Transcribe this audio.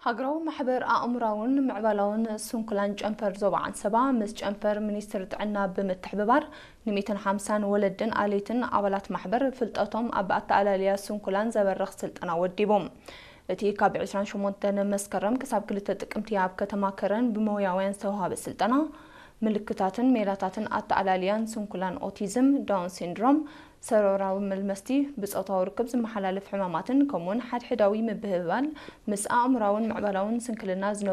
ሃገራዊ ማሕበር ኣእምራውን ምዕባላውን ስንኩላን ጨንፈር ዞባ ዓንሰባ ምስ ጨንፈር ሚኒስትሪ ጥዕና ብምትሕብባር ን150ን ወለድን ኣሌትን ኣባላት ማሕበር ፍልጠቶም ኣብ ኣተኣላልያ ስንኩላን ዘበርኽ ስልጠና ወዲቦም። እቲ ካብ 28 መስከረም ክሳብ 2 ጥቅምቲ ኣብ ከተማ ከረን ብሞያውያን ዝተዋሃበ ስልጠና ምልክታትን ሜላታትን ኣተኣላልያን ስንኩላን ኦቲዝም፣ ዳውን ሲንድሮም፣ ሰሮራዊ መልመስቲ፣ ብጾታዊ ርክብ ዝመሓላለፍ ሕማማትን ከምኡውን ሓድሕዳዊ ምብህባል ምስ ኣእምራውን ምዕባላውን ስንክልና